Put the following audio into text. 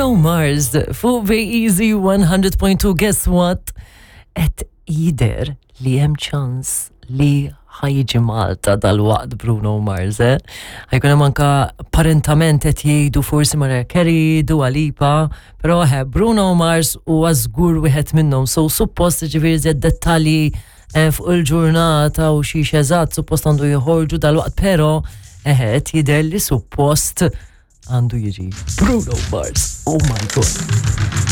Bruno Mars fuq Easy 100.2 guess what? Et jider li hemm ċans li ħajġi Malta dal-waqt Bruno Mars, eh? Ħajkun hemm anka parentament qed jgħidu forsi Mariah Carey, Dua Lipa, però eh, Bruno Mars huwa żgur wieħed minnhom. So suppost ġifieri żed dettalji eh, fuq il-ġurnata u xi eżatt suppost għandu joħorġu dal-waqt, però eh, qed jidher li suppost għandu jiġi Bruno Mars. Oh my god.